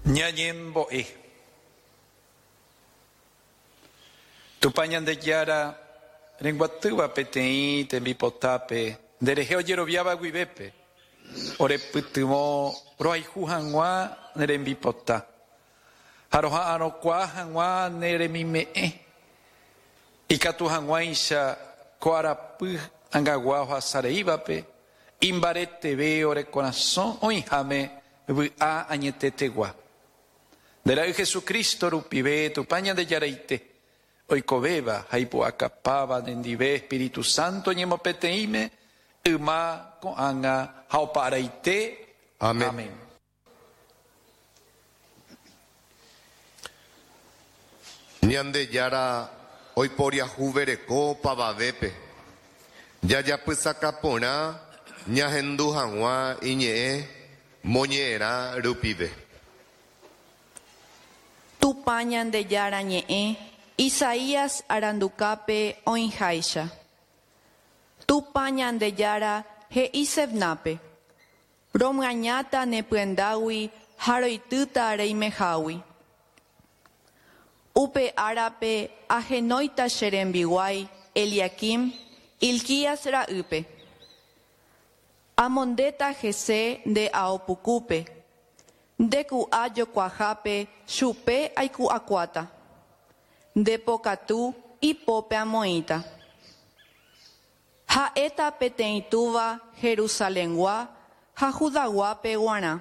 Ñañembo'e. Tupã Ñandejára renguatýva peteĩ tembipotápe nderehe ojeroviáva guivépe, orepytyvõ rohayhu hag̃ua ne rembipota ha roha'arõkuaa hag̃ua ne remime'ẽ, ikatu hag̃uáicha ko arapy ag̃agua ohasa reívape imbareteve ore korasõ oĩháme vy'a añetetegua. Nde Ra'y Jesucristo rupive, Tupã Ñandejaraite, oikovéva ha ipu'akapáva nendive Espíritu Santo ñemopeteĩme, yma, ko'ág̃a ha opa araite. Amén. Amén. Ñandejára oiporiahuvereko opavavépe, jajapysaka porã ñahendu hag̃ua iñe'ẽ moñe'ẽrã rupive. Tupã Ñandejára ñe'ẽ Isaías arandukápe oĩháicha. Tupã Ñandejára he'i Sebnápe, Romyañáta ne pyendágui ha roitýta reimehágui. Upe árape ahenóita che rembiguái Eliaquim, Hilquías ra'ýpe. Amondéta hese nde ao pukúpe, nde ku'a jokuahápe chupe aiku'akuáta, nde pokatu ipópe amoĩta. Ha'éta peteĩ túva Jerusalengua ha Judaguápe guarã.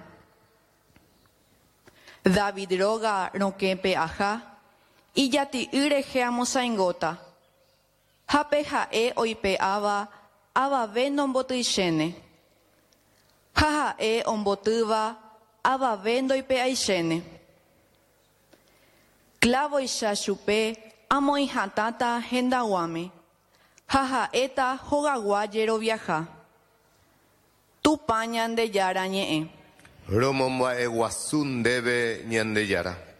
David róga rokẽpe aja, ijati'y rehe amosaingóta, ha pe ha'e oipe'áva avave nombotyichéne, ha ha'e ombotýva avave ndoipe'aichéne. Klávoicha chupe amoĩ hatãta hendaguãme, ha ha'éta hogagua jeroviaha. Tupã Ñandejára ñe'ẽ. Romomba'eguasu ndéve Ñandejára.